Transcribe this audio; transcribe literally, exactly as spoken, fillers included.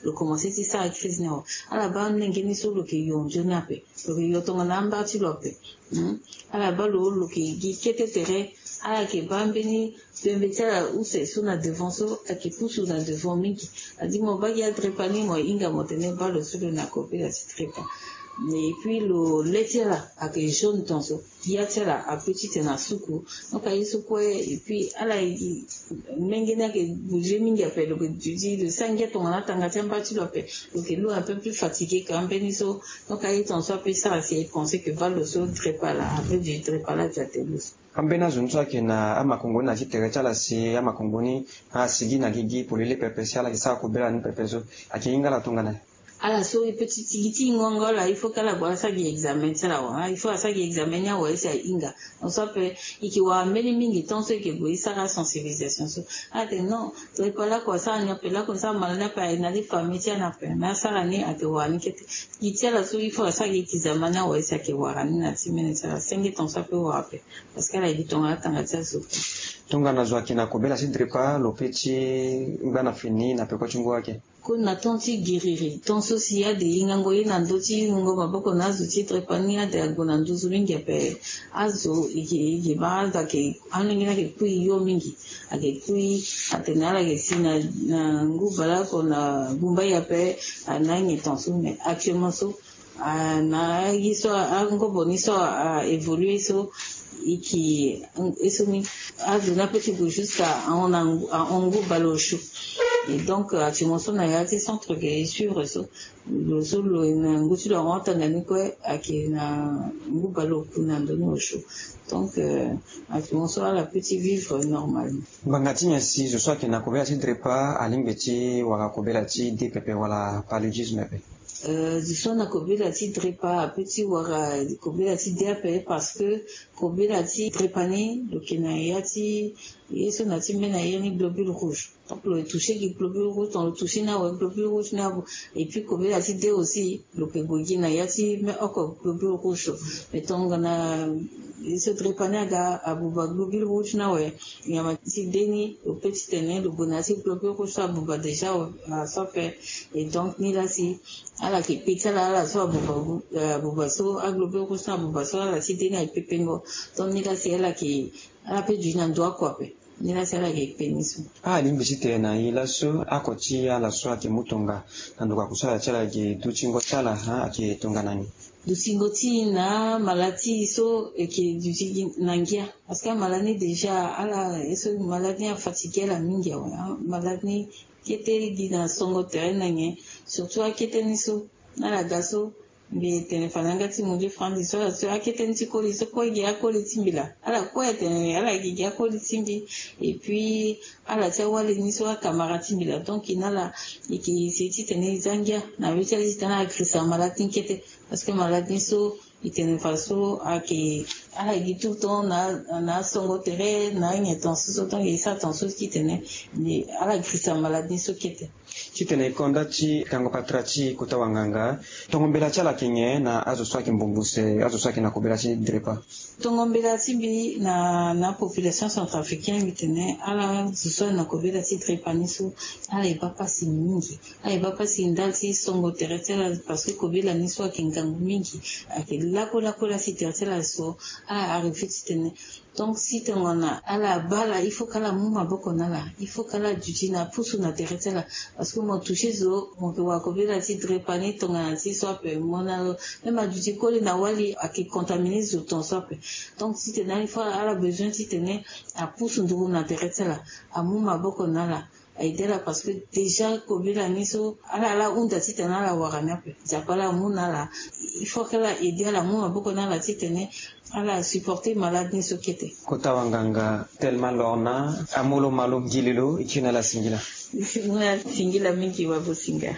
Lo commence ti sara crise ni awe. Ala baa lenge ni so lo yeke yo nzoni ape, lo yeke yo tongana amba ti lo ape. Hmm. Ala baa lo lo yeke gi kete tere. Ala yeke baa mbeni pembe ti ala use so na devant so ayeke pusu na devant mingi. Adi mo baa gi adrepa ni mo hinga mo tene baa lo so lo na kobela ti drepa. Et puis lo le ti ala ayeke jaune ton so. Ya ti ala ape titene asuku. Donc aye so kue. Et puis ala e gi menge ni ayeke bouger mingi ape lo yeke duti lo sangia tongana atanga ti amba ti lo ape. Lo yeke lourd un peu plus fatigué ka mbeni so. Donc aye ton so ape sara si aye pense que baa lo so drepa la ape du drepa la du ate lo so. Ambeni azo ni so ayeke na amakongo ni na ti tere ti ala si amakongo ni asigi na gigi polele pepe si ala yeke sara kobela ni pepe so. Ayeke hinga ala tongana nyen? Ala so e peut ti ti gi ti hingongo ala il faut kala gue ala sara gi examen ti ala wa il faut asara gi examen ni awe si ahinga. Donc so ape e yeke wara mbeni mingi temps so e yeke gue e sara sensibilisation so. Ala tene non, drepa lako asara ni ape lako asara malade ni ape aye na li famille ti ala ni ape mais asara ni ayeke wara ni kete. Gi ti ala so il faut asara gi examen ni awe si ayeke wara ni na ti mene ti ala senge ton so ape wara ape. Parce que ala ye gi tongana atanga ti azo. Tongana zo ayeke na kobela ti drepa lo pe ti ngba na fini na peko ti ngu ake. Koni na temps ti giriri temps so si ade hingango ye na ndö ti wungo maboko na azo ti drepa ni ade ague na nduzu mingi ape. Azo eke eke baa azo ayeke alenge ni ayeke kui yo mingi. Ayeke kui atene ala yeke si na na ngu baleoko na gumba ye ape. Na nyen ton so mais actuellement so na ye so angobo ni so a évoluer so. E ki ye so ni azo ni ape ti gue jusqu'à ahon na ahon ngu baleosio. Et donc actuellement so na ya ti centre ke e suivre so lo so lo na ngu ti lo ahon atanga ni kue ayeke na ngu baleoku na ndoni osio. Donc actuellement so ala pe ti vivre normalement. Ngbanga ti nyen si zo so ayeke na kobela ti drepa alingbi ti wara kobela ti de pepe wala paludisme ape? Zo so na kobela ti drepa ape ti wara kobela ti de ape parce que kobela ti drepa ni lo yeke na ya ti ye so na ti mbeni aye ni globule rouge. Donc lo toucher gi globule rouge ton lo toucher ni awe globule rouge ni abu. Et puis kobela ti de aussi lo yeke gue gi na ya ti me oko globule rouge so. Mais tongana ye so drepa ni aga abuba globule rouge ni awe. Nyama ti de ni lo pe ti tene lo gue na ya ti globule rouge so abuba déjà awe. Aso ape. Et donc ni la si ala yeke pe ti ala ala so abuba abuba so aglobule rouge so abuba so ala ti de ni aye pepengo. Donc ni la si ala yeke ala pe duti na ndo oko ape. Ni la si ala yeke pe ni so. Alingbi ti tene na ye laso ako ti ala so ayeke mu tonga na ndokua kusala ti ala ayeke dutingo ti ala ayeke tongana ni. Dutingo ti e na maladi so eke duti gi na ngia. Parce que amaladi ni déjà ala ye so maladi ni afatigue ala mingi awe. Maladi ni kete gi na songo tere na nyen. Surtout akete ni so na ala ga so. Mbi tene fa na yanga ti mundu franzi so ala so akete ni ti koli so kue gi akoli ti mbi laa ala kue atene ala gi gi akoli ti mbi. Et puis ala ti awali ni so akamara ti mbi laa donc na ala eke essayer ti tene e za ngia na we ti ala ti tene ala girisa maladi ni kete. Parce que maladi ni so e tene fa so ayeke ala gi tout le temps na asongo tere na anyen tension so donc e sara tension ti tene ala girisa maladi ni so kete. Titene e konda ti kango patara ti kota wanganga, tongo mbela ti ala ayeke nyen na azo so ayeke mbumbu se azo so ayeke na kobela ti drepa? Tongo mbela ti mbi na na population centrafricaine mbi tene ala zo so ayeke na kobela ti drepa ni so ala ye baa pasi mingi. Ala ye baa pasi ndali ti songo tere ti ala parce que kobela ni so ayeke ngangu mingi. Ayeke lakue lakue la si tere ti ala so ala arrive ti tene. Donc si tongana ala baa ala il faut k'ala mu maboko na ala il faut k'ala duti na pusu na tere ti ala. Parce que mo toucher zo mo yeke wara kobela ti drepa ni tongana ti so ape mo na lo. Même aduti koli na wali ayeke contaminer zo ton so ape. Donc titene il faut ala besoin titene apusu nduru na tere ti ala. Amu maboko na ala. Aide ala parce que déjà kobela ni so ala ala hunda titene ala wara ni ape. Nzapa ala mu na ala. Il faut k'ala aide ala mu maboko na ala titene ala supporter malade ni so kete. Kota wanganga Thelma Lorna Amolo Malo Ngililo e kiri na ala singila. Singila mingi wa bosinga.